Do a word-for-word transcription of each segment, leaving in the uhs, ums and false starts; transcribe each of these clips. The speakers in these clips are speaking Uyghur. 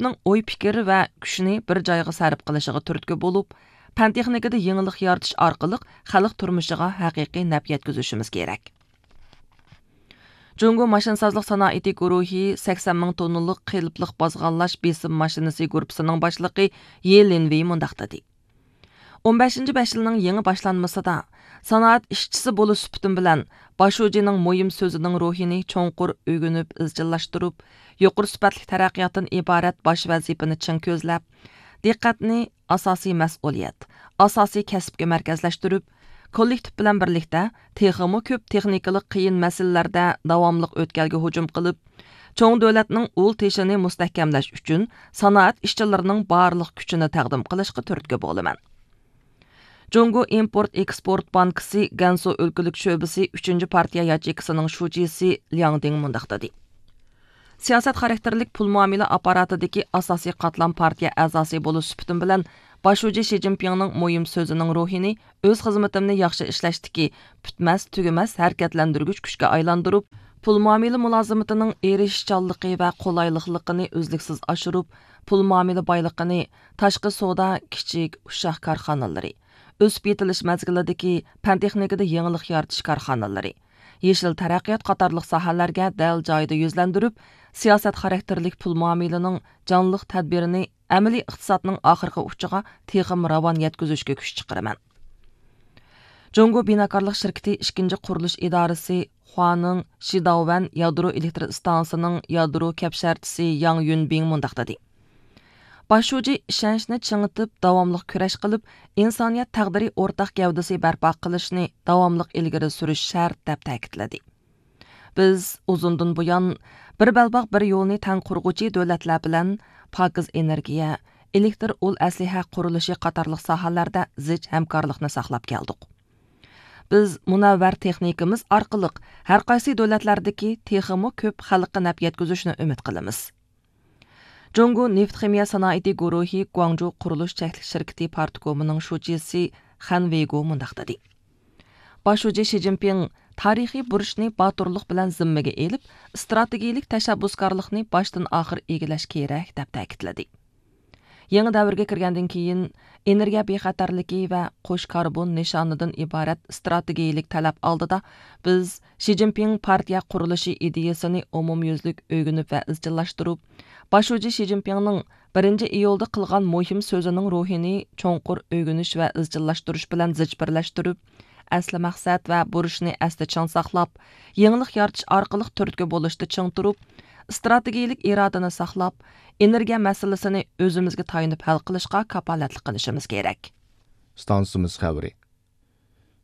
كۆپنىڭ ئوي پىكىر ۋە كۈچنى بىر جايغا سەرپ قىلىشىغا تۈرتكە بولۇپ، پەن تېخنىكىدا يېڭىلىق يارىتىش ئارقىلىق خەلق تۇرمۇشىغا ھەقىقىي نەپ يەتكۈزۈشىمىز كېرەك. جۇڭگو ماشىنىسازلىق سانائىتى گۇرۇھى سەكسەن مىڭ توننىلىق قېلىپلىق بازغانلاش بېسىم ماشىنىسى گۇرۇپپىسىنىڭ باشلىقى يې لىنۋېي مۇنداق دېدى: ئون بەشىنچى بەش يىلنىڭ يېڭى باشلانمىسىدا، سانائەت ئىشچىسى بولۇش سۈپىتىم بىلەن، باشۇجىنىڭ مۇھىم سۆزىنىڭ روھىنى چوڭقۇر ئۆگىنىپ ئىزچىللاشتۇرۇپ، يۇقىرى سۈپەتلىك تەرەققىياتتىن ئىبارەت باش ۋەزىپىنى چىڭ كۆزلەپ، دىققەتنى ئاساسىي مەسئۇلىيەت، ئاساسىي كەسىپكە مەركەزلەشتۈرۈپ، كوللېكتىپ بىلەن بىرلىكتە تېخىمۇ كۆپ تېخنىكىلىق قىيىن مەسىلىلەردە داۋاملىق ئۆتكەلگە ھۇجۇم قىلىپ، چوڭ دۆلەتنىڭ ئۇل تېشىنى مۇستەھكەملەش ئۈچۈن سانائەت ئىشچىلىرىنىڭ بارلىق كۈچىنى تەقدىم قىلىشقا تۈرتكە بولىمەن. جۇڭگو ئىمپورت ئېكسپورت بانكىسى گەنسۇ ئۆلكىلىك شۆبىسى ئۈچىنچى پارتىيە ياچېيكىسىنىڭ شۇجىسى لياڭ دىڭ مۇنداق دېدى: سىياسەت خاراكتېرلىك پۇل مۇئامىلە ئاپپاراتىدىكى ئاساسىي قاتلام پارتىيە ئەزاسى بولۇش سۈپىتىم بىلەن، باش شۇجى شى جىنپىڭنىڭ مۇھىم سۆزىنىڭ روھىنى ئۆز خىزمىتىمنى ياخشى ئىشلەشتىكى پۈتمەس، تۈگىمەس ھەرىكەتلەندۈرگۈچ كۈچكە ئايلاندۇرۇپ، پۇل مۇئامىلە مۇلازىمىتىنىڭ ئېرىشىشچانلىقى ۋە قولايلىقلىقىنى ئۈزلۈكسىز ئاشۇرۇپ، پۇل مۇئامىلە بايلىقىنى تاشقى سودا، كىچىك، ئۇششاق كارخانىلىرى، ئۆسۈپ يېتىلىش مەزگىلىدىكى پەن تېخنىكىدا يېڭىلىق يارىتىش كارخانىلىرى، يېشىل تەرەققىيات قاتارلىق ساھەلەرگە دەل جايىدا يۈزلەندۈرۈپ، سىياسەت خاراكتېرلىك پۇل مۇئامىلىنىڭ جانلىق تەدبىرىنى ئەمەلىي ئىقتىسادنىڭ ئاخىرقى ئۇچىغا تېخىمۇ راۋان يەتكۈزۈشكە كۈچ چىقىرىمەن. جۇڭگو بىناكارلىق شىركىتى ئىككىنچى قۇرۇلۇش ئىدارىسى خۇانىڭ شىداۋەن يادرو ئېلېكتر ئىستانسىسىنىڭ يادرو كەپشەرتىسى ياڭ يۈنبىڭ مۇنداق دېدى: باش شۇجى ئىشەنچنى چىڭىتىپ، داۋاملىق كۈرەش قىلىپ، ئىنسانىيەت تەقدىرى ئورتاق گەۋدىسى بەرپا قىلىشنى داۋاملىق ئىلگىرى سۈرۈش شەرت، دەپ تەكىتلىدى. بىز ئۇزۇندىن بۇيان بىر بەلباغ، بىر يولنى تەڭ قۇرغۇچى دۆلەتلەر بىلەن پاكىز ئېنېرگىيە، ئېلېكتر ئۇل ئەسلىھە قۇرۇلۇشى قاتارلىق ساھەلەردە زىچ ھەمكارلىقنى ساقلاپ كەلدۇق. بىز مۇنەۋۋەر تېخنىكىمىز ئارقىلىق ھەر قايسى دۆلەتلەردىكى تېخىمۇ كۆپ خەلققە نەپ يەتكۈزۈشنى ئۈمىد قىلىمىز. جۇڭگو نېفىت خىمىيە سانائىتى گۇرۇھى گۇاڭجۇ قۇرۇلۇش چەكلىك شىركىتى پارتكومىنىڭ شۇجىسى خەن ۋېيگو مۇنداق دېدى: باش شۇجى شى جىنپىڭ تارىخىي بۇرچنى باتۇرلۇق بىلەن زىممىگە ئېلىپ، ئىستراتېگىيىلىك تەشەببۇسكارلىقنى باشتىن ئاخىر ئىگىلەش كېرەك، دەپ تەكىتلىدى. يېڭى دەۋرگە كىرگەندىن كېيىن، ئېنېرگىيە بىخەتەرلىكى ۋە قوش كاربون نىشانىدىن ئىبارەت ئىستراتېگىيىلىك تەلەپ ئالدىدا، بىز شى جىنپىڭ پارتىيە قۇرۇلۇشى ئىدىيىسىنى ئومۇميۈزلۈك ئۆگىنىپ ۋە ئىزچىللاشتۇرۇپ، باش شۇجى شى جىنپىڭنىڭ بىرىنچى ئىيۇلدا قىلغان مۇھىم سۆزىنىڭ روھىنى چوڭقۇر ئۆگىنىش ۋە ئىزچىللاشتۇرۇش بىلەن زىچ بىرلەشتۈرۈپ، ئەسلى مەقسەت ۋە بۇرچنى ئەستە چىڭ ساقلاپ، يېڭىلىق يارىتىش ئارقىلىق تۈرتكە بولۇشتا چىڭ تۇرۇپ، ئىستراتېگىيىلىك ئىرادىنى ساقلاپ، ئېنېرگىيە مەسىلىسىنى ئۆزىمىزگە تايىنىپ ھەل قىلىشقا كاپالەتلىك قىلىشىمىز كېرەك. ئىستانسىمىز خەۋىرى.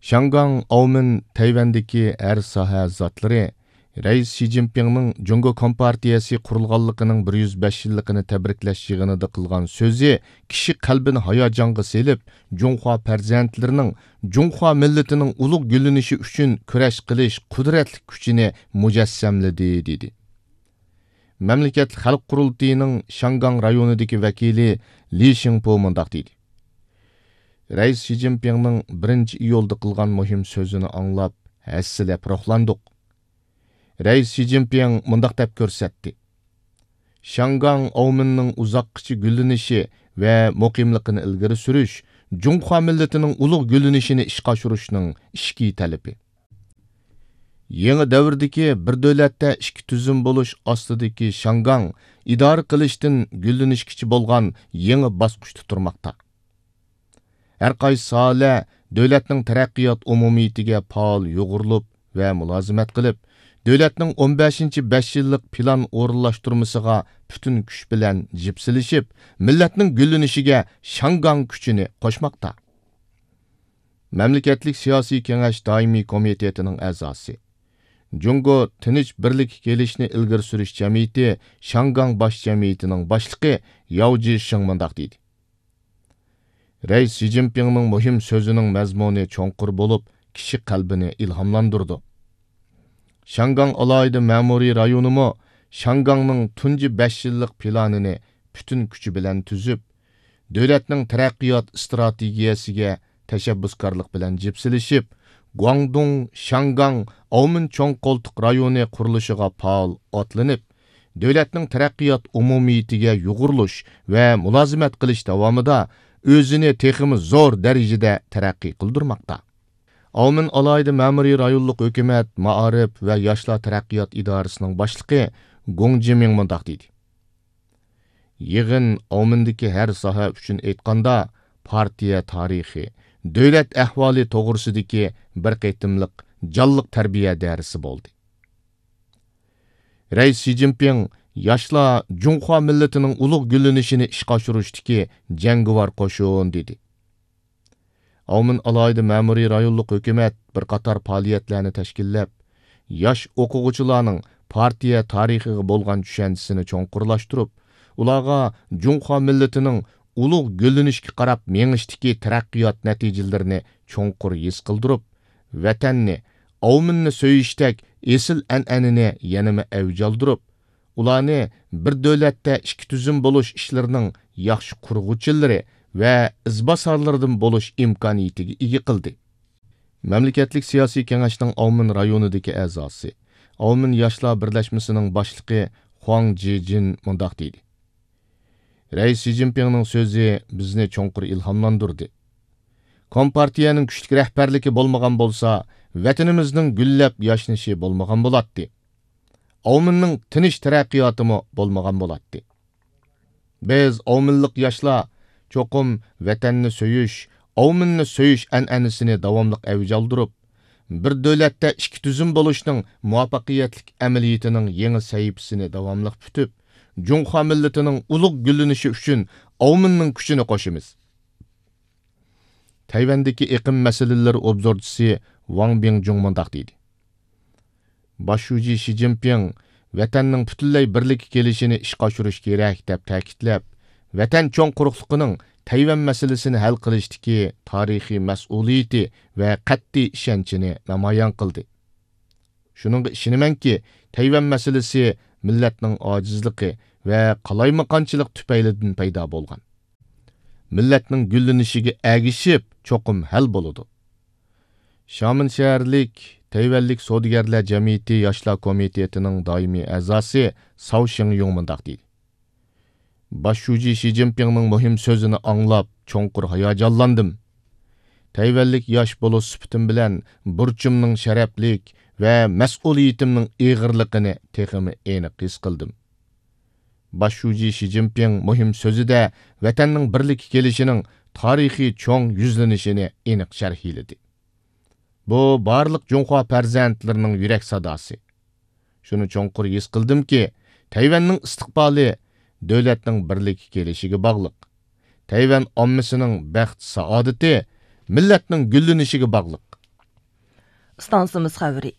شياڭگاڭ ئاۋمېن تەيۋەندىكى ھەر ساھە زاتلىرى رەئىس شى جىنپىڭنىڭ جۇڭگو كومپارتىيەسى قۇرۇلغانلىقىنىڭ بىر يۈز بەش يىللىقىنى تەبرىكلەش يىغىنىدا قىلغان سۆزى كىشى قەلبىنى ھاياجانغا سېلىپ، جۇڭخۇا پەرزەنتلىرىنىڭ، جۇڭخۇا مىللىتىنىڭ ئۇلۇغ گۈللىنىشى ئۈچۈن كۈرەش قىلىش قۇدرەتلىك كۈچىنى مۇجەسسەملىدى، دېدى. مەملىكەتلىك خەلق قۇرۇلتىيىنىڭ شياڭگاڭ رايونىدىكى ۋەكىلى لى شىڭپو مۇنداق دېدى: رەئىس شى جىنپىڭنىڭ بىرىنچى ئىيۇلدا قىلغان مۇھىم سۆزىنى ئاڭلاپ، ھەسسىلەپ روھلاندۇق. رەئىس شى جىنپىڭ مۇنداق دەپ كۆرسەتتى: شياڭگاڭ ئاۋمېننىڭ ئۇزاققىچە گۈللىنىشى ۋە مۇقىملىقىنى ئىلگىرى سۈرۈش جۇڭخۇا مىللىتىنىڭ ئۇلۇغ گۈللىنىشىنى ئىشقا ئاشۇرۇشنىڭ ئىچكى تەلىپى. يېڭى دەۋردىكى بىر دۆلەتتە ئىككى تۈزۈم بولۇش ئاستىدىكى شياڭگاڭ ئىدارە قىلىشتىن، گۈللىنىشكىچە بولغان يېڭى باسقۇچتا تۇرماقتا. ھەر قايسى ساھەلەر دۆلەتنىڭ تەرەققىيات ئومۇمىيىتىگە پائال يۇغۇرۇلۇپ ۋە مۇلازىمەت قىلىپ، دۆلەتنىڭ ئون بەشىنچى بەش يىللىق پىلان ئورۇنلاشتۇرمىسىغا پۈتۈن كۈچ بىلەن جىپسىلىشىپ، مىللەتنىڭ گۈللىنىشىگە شياڭگاڭ كۈچىنى قوشماقتا. مەملىكەتلىك سىياسىي كېڭەش دائىمىي كومىتېتىنىڭ ئەزاسى، جۇڭگو تىنچ بىرلىككە كېلىشنى ئىلگىرى سۈرۈش جەمئىيىتى شياڭگاڭ باش جەمئىيىتىنىڭ باشلىقى ياۋ جىشىڭ مۇنداق دېدى: رەئىس شى جىنپىڭنىڭ مۇھىم سۆزىنىڭ مەزمۇنى چوڭقۇر بولۇپ، كىشى قەلبىنى ئىلھاملاندۇرىدۇ. شياڭگاڭ ئالاھىدە مەمۇرىي رايونىمۇ شياڭگاڭنىڭ تۇنجى بەش يىللىق پىلانىنى پۈتۈن كۈچى بىلەن تۈزۈپ، دۆلەتنىڭ تەرەققىيات ئىستراتېگىيەسىگە تەشەببۇسكارلىق بىلەن جىپسىلىشىپ، گۇاڭدۇڭ، شياڭگاڭ، ئاۋمېن چوڭ قولتۇق رايونى قۇرۇلۇشىغا پائال ئاتلىنىپ، دۆلەتنىڭ تەرەققىيات ئومۇمىيىتىگە يۇغۇرۇلۇش ۋە مۇلازىمەت قىلىش داۋامىدا ئۆزىنى تېخىمۇ زور دەرىجىدە تەرەققىي قىلدۇرماقتا. ئاۋمېن ئالاھىدە مەمۇرىي رايونلۇق ھۆكۈمەت، مائارىپ ۋە ياشلار تەرەققىيات ئىدارىسىنىڭ باشلىقى گوڭ جىمىڭ مۇنداق دېدى: يىغىن ئاۋمېندىكى ھەر ساھە ئۈچۈن ئېيتقاندا، پارتىيە تارىخى، دۆلەت ئەھۋالى توغرىسىدىكى بىر قېتىملىق جانلىق تەربىيە دەرسى بولدى. رەئىس شى جىنپىڭ ياشلار جۇڭخۇا مىللىتىنىڭ ئۇلۇغ گۈللىنىشىنى ئىشقا ئاشۇرۇشتىكى جەڭگىۋار قوشۇن دېدى. ئاۋمېن ئالاھىدە مەمۇرىي رايونلۇق ھۆكۈمەت بىر قاتار پائالىيەتلەرنى تەشكىللەپ، ياش ئوقۇغۇچىلارنىڭ پارتىيە تارىخىغا بولغان چۈشەنچىسىنى چوڭقۇرلاشتۇرۇپ، ئۇلارغا جۇڭخۇا مىللىتىنىڭ ئۇلۇغ گۈللىنىشكە قاراپ مېڭىشتىكى تەرەققىيات نەتىجىلىرىنى چوڭقۇر ھېس قىلدۇرۇپ، ۋەتەننى، ئاۋمېننى سۆيۈشتەك ئېسىل ئەنئەنىنى يەنىمۇ ئەۋج ئالدۇرۇپ، ئۇلارنى بىر دۆلەتتە ئىككى تۈزۈم بولۇش ئىشلىرىنىڭ ياخشى قۇرغۇچىلىرى ۋە ئىزباسارلىرىدىن بولۇش ئىمكانىيىتىگە ئىگە قىلدى. مەملىكەتلىك سىياسىي كېڭەشنىڭ ئاۋمېن رايونىدىكى ئەزاسى، ئاۋمېن ياشلار بىرلەشمىسىنىڭ باشلىقى خۇاڭ جىجىن مۇنداق دېدى: رەئىس شى جىنپىڭنىڭ سۆزى بىزنى چوڭقۇر ئىلھاملاندۇردى. كومپارتىيەنىڭ كۈچلۈك رەھبەرلىكى بولمىغان بولسا، ۋەتىنىمىزنىڭ گۈللەپ ياشنىشى بولمىغان بولاتتى. ئاۋمېننىڭ تىنچ تەرەققىياتىمۇ بولمىغان بولاتتى. بىز ئاۋمېنلىق ياشلار چوقۇم ۋەتەننى سۆيۈش، ئاۋمېننى سۆيۈش ئەنئەنىسىنى داۋاملىق ئەۋج ئالدۇرۇپ، بىر دۆلەتتە ئىككى تۈزۈم بولۇشنىڭ مۇۋەپپەقىيەتلىك ئەمەلىيىتىنىڭ يېڭى سەھىپىسىنى داۋاملىق پۈتۈپ، جۇڭخۇا مىللىتىنىڭ ئۇلۇغ گۈللىنىشى ئۈچۈن ئاۋمېننىڭ كۈچىنى قوشىمىز. تەيۋەندىكى ئېقىم مەسىلىلىرى ئوبزورچىسى ۋاڭ بىڭجۇڭ مۇنداق دېدى: باش شۇجى شى جىنپىڭ ۋەتەننىڭ پۈتۈنلەي بىرلىككە كېلىشىنى ئىشقا ئاشۇرۇش كېرەك، دەپ تەكىتلەپ، ۋەتەن چوڭ قۇرۇقلۇقىنىڭ تەيۋەن مەسىلىسىنى ھەل قىلىشتىكى تارىخىي مەسئۇلىيىتى ۋە قەتئىي ئىشەنچىنى نامايان قىلدى. شۇنىڭغا ئىشىنىمەنكى، تەيۋەن مەسىلىسى مىللەتنىڭ ئاجىزلىقى ۋە قالايمىقانچىلىق تۈپەيلىدىن پەيدا بولغان. مىللەتنىڭ گۈللىنىشىگە ئەگىشىپ، چوقۇم ھەل بولىدۇ. شامېن شەھەرلىك تەيۋەنلىك سودىگەرلەر جەمئىيىتى ياشلار كومىتېتىنىڭ دائىمىي ئەزاسى ساۋ شېڭيۇڭ مۇنداق دېدى: باش شۇجى شى جىنپىڭنىڭ مۇھىم سۆزىنى ئاڭلاپ، چوڭقۇر ھاياجانلاندىم. تەيۋەنلىك ياش بولۇش سۈپىتىم بىلەن بۇرچۇمنىڭ شەرەپلىك ۋە مەسئۇلىيىتىمنىڭ ئېغىرلىقىنى تېخىمۇ ئېنىق ھېس قىلدىم. باش شۇجى شى جىنپىڭ مۇھىم سۆزىدە ۋەتەننىڭ بىرلىككە كېلىشىنىڭ تارىخىي چوڭ يۈزلىنىشىنى ئېنىق شەرھلىدى. بۇ بارلىق جۇڭخۇا پەرزەنتلىرىنىڭ يۈرەك ساداسى. شۇنى چوڭقۇر ھېس قىلدىمكى، تەيۋەننىڭ ئىستىقبالى دۆلەتنىڭ بىرلىككە كېلىشىگە باغلىق. تەيۋەن ئاممىسىنىڭ بەخت-سائادىتى مىللەتنىڭ گۈللىنىشىگە باغلىق. ئىستانسىمىز خەۋىرى.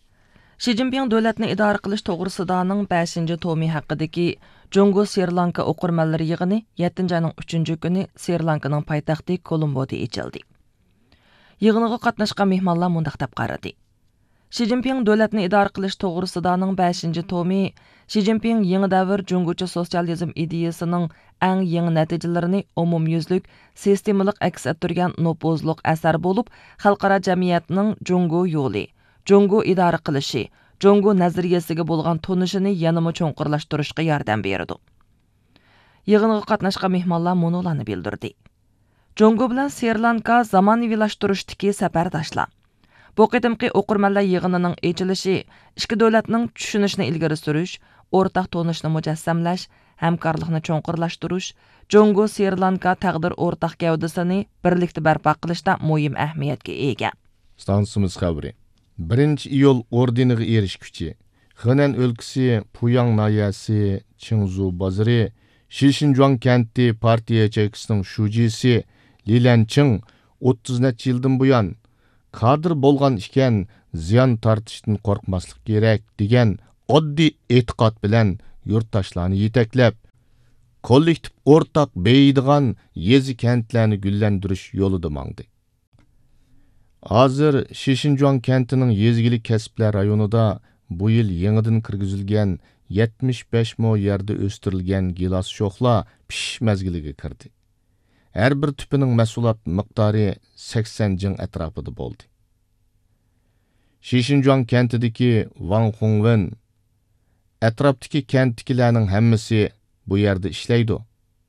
شى جىنپىڭ دۆلەتنى ئىدارە قىلىش توغرىسىدانىڭ بەشىنچى تومى ھەققىدىكى جۇڭگو سرى لانكا ئوقۇرمەنلىرى يىغىنى يەتتىنچى ئاينىڭ ئۈچىنچى كۈنى سرى لانكىنىڭ پايتەختى كولومبودا ئېچىلدى. يىغىنغا قاتناشقان مېھمانلار مۇنداق دەپ قارىدى: شى جىنپىڭ دۆلەتنى ئىدارە قىلىش توغرىسىدانىڭ بەشىنچى تومى شى جىنپىڭ يېڭى دەۋر جۇڭگوچە سوتسىيالىزم ئىدىيىسىنىڭ ئەڭ يېڭى نەتىجىلىرىنى ئومۇميۈزلۈك، سىستېمىلىق ئەكس ئەتتۈرگەن نوپۇزلۇق ئەسەر بولۇپ، خەلقئارا جەمئىيەتنىڭ جۇڭگو يولى، جۇڭگو ئىدارە قىلىشى، جۇڭگو نەزەرىيەسىگە بولغان تونۇشىنى يەنىمۇ چوڭقۇرلاشتۇرۇشقا ياردەم بېرىدۇ. يىغىنغا قاتناشقان مېھمانلار مۇنۇلارنى بىلدۈردى: جۇڭگو بىلەن سرى لانكا زامانىۋىلاشتۇرۇشتىكى سەپەرداشلار. بۇ قېتىمقى ئوقۇرمەنلەر يىغىنىنىڭ ئېچىلىشى ئىككى دۆلەتنىڭ چۈشىنىشىنى ئىلگىرى سۈرۈش، ئورتاق تونۇشنى مۇجەسسەملەش، ھەمكارلىقنى چوڭقۇرلاشتۇرۇش، جۇڭگو سرى لانكا تەقدىر ئورتاق گەۋدىسىنى بىرلىكتە بەرپا قىلىشتا مۇھىم ئەھمىيەتكە ئىگە. ئىستانسىمىز خەۋىرى. بىرىنچى ئىيۇل ئوردېنىغا ئېرىشكۈچى، خېنەن ئۆلكىسى پۇياڭ ناھىيەسى چىڭزۇ بازىرى شىشىنجۇاڭ كەنتى پارتىيە ياچېيكىسىنىڭ شۇجىسى لى لەنچىڭ ئوتتۇز نەچچە يىلدىن بۇيان، كادىر بولغان ئىكەن، زىيان تارتىشتىن قورقماسلىق كېرەك، دېگەن ئاددىي ئېتىقاد بىلەن يۇرتداشلارنى يېتەكلەپ، كوللېكتىپ ئورتاق بېيىيدىغان يېزا، كەنتلەرنى گۈللەندۈرۈش يولىدا ماڭدى. ھازىر شىشىنجۇاڭ كەنتىنىڭ يېزا ئىگىلىك كەسىپلەر رايونىدا بۇ يىل يېڭىدىن كىرگۈزۈلگەن يەتمىش بەش مو يەردە ئۆستۈرۈلگەن گىلاس شوخلا پىشىش مەزگىلىگە كىردى. ھەر بىر تۈپىنىڭ مەھسۇلات مىقدارى سەكسەن جىڭ ئەتراپىدا بولدى. شىشىنجۇاڭ كەنتىدىكى ۋاڭ خۇڭۋېن ئەتراپتىكى كەنتتىكىلەرنىڭ ھەممىسى بۇ يەردە ئىشلەيدۇ.